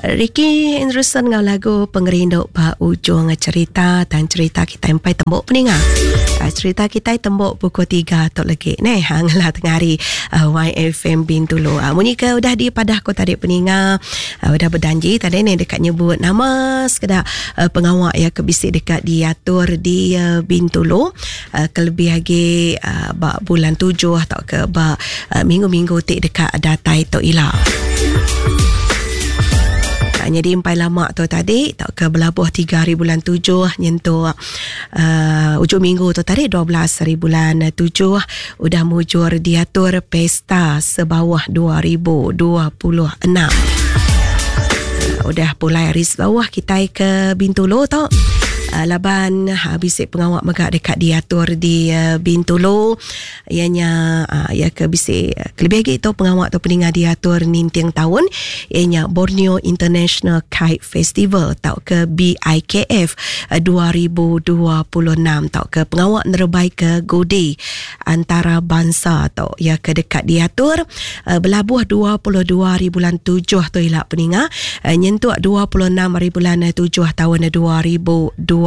Ricky Anderson enggau lagu Pengerindu ba ujung cerita dan cerita kita empai tembok peninga. Cerita kita tembok pukul 3 tu lagi neh ha, ngelah tengah hari YFM Bintulu. Munyi ke udah dipadah ko tadi peninga udah berjanji tadi ni dekat nyebut nama sekeda pengawa ya ke bisi dekat diatur di Bintulu kelebih lagi ba bulan 7 atau ke ba minggu-minggu ti dekat datai tu ila. Jadi empai lama tu tadi tak ke belabuh 3 hari bulan 7 nyentuk ujung minggu tu tadi 12 hari bulan 7 udah mujur diatur pesta sebawah 2026. Udah pulai hari sebawah kita ke Bintulu tu. Laban bisi pengawak mega dekat diatur di Bintulu. Ianya ia ke bisi kelebih lagi tu pengawak tu peninga diatur ninting tahun ianya Borneo International Kite Festival atau ke BIKF 2026 atau ke pengawak nerebai ke Gudi antara bangsa atau ia ke dekat diatur belabuh 22 hari bulan 7 tu ila peninga nyentuk 26 hari bulan 7 tahun 2026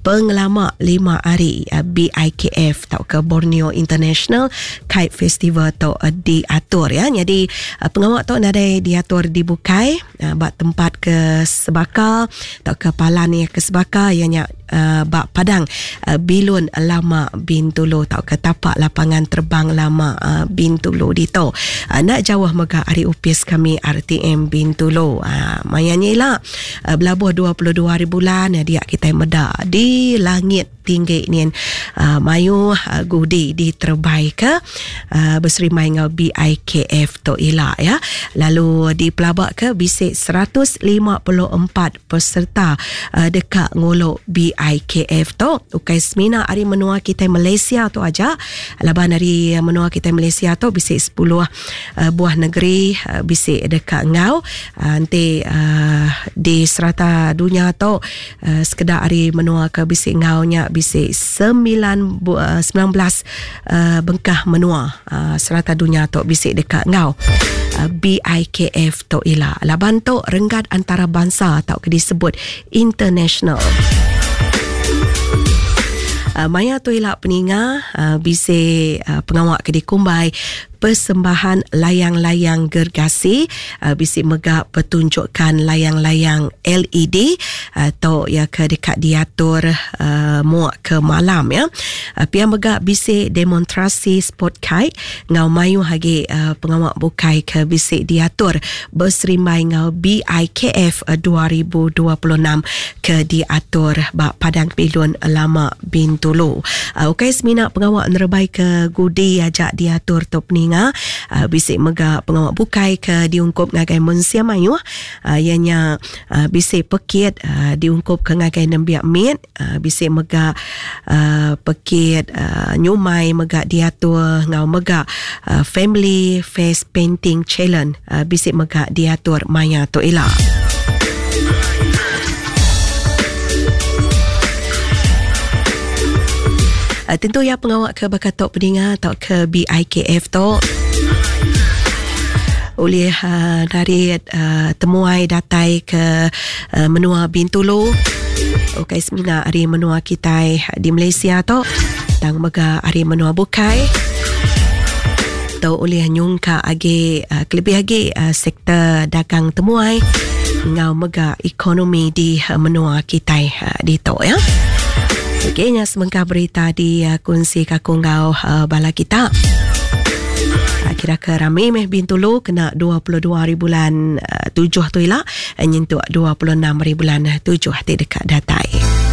pengelama 5 hari BIKF atau ke Borneo International Kite Festival tu diatur ya. Jadi pengawak tu nadai diatur dibukai ba tempat ke sebaka atau ke palan ya ke sebaka ianya ba Padang Bilun Lama Bintulu atau ke tapak lapangan terbang lama Bintulu dito. Nak jauh mega hari upis kami RTM Bintulu. Mayanya ila belabuh 22 hari bulan dia kita meda di langit tinggi ni mayu gudi diterbai ke berserimai ngau BIKF tu ila ya. Lalu dipelabak ke bisik 154 peserta dekat ngolok BIKF tu. Ukai semina hari menua kita Malaysia tu aja. Laban hari menua kita Malaysia tu bisik 10 buah negeri bisik dekat ngau. Nanti di serata dunia tu sekedar hari menua ke bisik ngaunya bisik 19 bengkah menua serata dunia tu bisik dekat ngau BIKF tu ila. Laban tu renggat antarabangsa atau ke disebut international. Maya tu ila peninga bisik pengawak ke dikumbai persembahan layang-layang gergasi, bisik mega pertunjukan layang-layang LED atau ya ke dekat diatur muak ke malam ya. Pia mega bisik demonstrasi sport kite ngau mayu hagi pengawak bukai ke bisik diatur berserimbai ngau BIKF 2026 ke diatur ba Padang Bilun Lama Bintulu. Ukai semina pengawak nerebai ke gudi ajak diatur tu peninga, bisik mega pengawak bukai ke diungkup ngagai mensia mayuh, ianya bisik pekit diungkup ke ngagai nembiak mit, bisik mega pekit nyumai mega diatur ngau mega family face painting challenge bisik mega diatur maya tu ila. Tentu ya pengawak ke bakatok peninga atau ke BIKF tu oleh dari temuai datai ke menua Bintulu. Okey, semina hari menua kita di Malaysia tu tang mega hari menua bukai tu oleh nyungka agi kelebih agi sektor dagang temuai ngau mega ekonomi di menua kita di tu ya. Okey, nya semengkah berita di kongsi kaku ngau bala kita. Kira ke rami meh Bintulu kena 22 hari bulan 7 tu ila nyentuk 26 hari bulan 7 ti dekat datai.